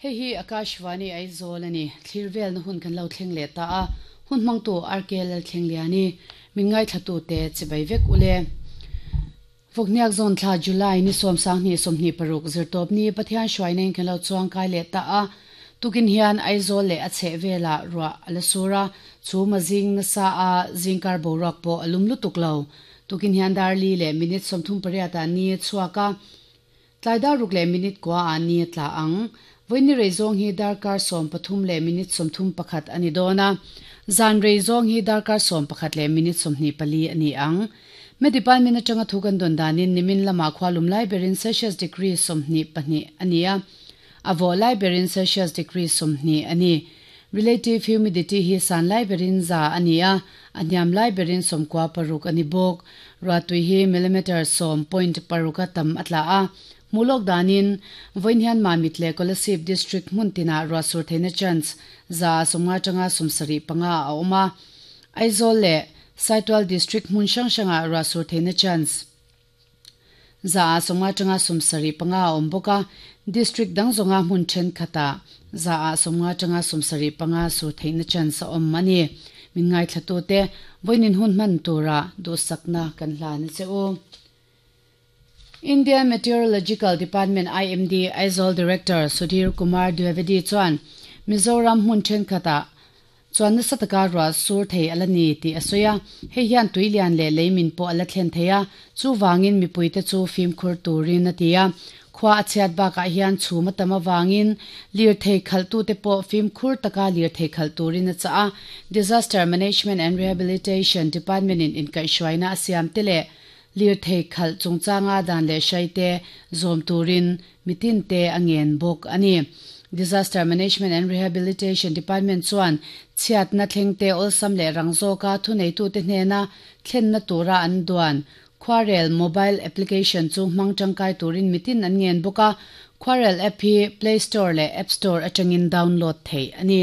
Hei hi Akashvani Aizawl a ni. Thlir velna hun kan lo thleng leh ta a, hun hmangtu RK Lalthlengliani, min ngaithlatute chibai vek u le. Vawkniak zawn thla July ni sawmsanghnih 26 zirtawp ni Pathian hruaina in kan lo chuangkai leh ta a, tukin hian Aizawl leh a chheh velah ruah a la sur a, chhum a zing nasa a, zingkar boruak pawh a lum lutuk lo. Tukin hian dar li leh minute 38 ah ni a chhuak a, tlai dar ruk leh minute kua ah ni a tla ang. Vawiin rei zawng hi darkar 13 leh minute 31 a ni dawn a, zan rei zawng hi darkar 11 leh minute 24 a ni ang. Me department atanga thu kan dawn danin nimin lamah khualum lai berin Celsius degree 22 a ni a, a vawh lai berin Celsius degree 20 a ni. Relative humidity hi san lai berin 100 a ni a, a hniam lai berin 96 a ni bawk. Ruahtui hi millimeter 10.6 a tam a tla a. Hmuhlawk danin vawiin hian Mamit leh Kolasib district hmun tinah ruah sur theihna chance 50 atanga 75 a awm a. Aizawl leh Saitual district hmun hrang hrangah ruah sur theihna chance 50 atanga 75 a awm bawk a. District dang zawnga hmun thenkhatah 50 atanga 75 sur theihna chance a awm a ni. Min ngaithlatute vawiin hun hman tura duhsakna kan hlan a che u. Indian Meteorological Department IMD Aizawl Director Sudhir Kumar Dwivedi chuan Mizoram hmun thenkhatah chuan nasa taka ruah sur thei a la ni tih a sawi a. Hei hian tuilian leh leimin pawh a la thlen thei a, chuvangin mipuite chu fimkhur turin a ti a. Khua a chhiat bakah hian chhum a tam avangin lirthei khalhtute pawh fimkhur taka lirthei khalh turin a chah a. Disaster Management and Rehabilitation Department-in inkaihhruaina a siam te leh lirthei khalh chungchanga dan leh hraite zawm turin mitinte a ngen bawk a ni. Disaster Management and Rehabilitation Department chuan chhiatna thlengte awlsam leh rang zawka thuneitute hnena thlenna tura an duan Khuarel mobile application chu hmang tangkai turin mitin an ngen bawk a. Khuarel app hi Play Store leh App Store atangin download theih a ni.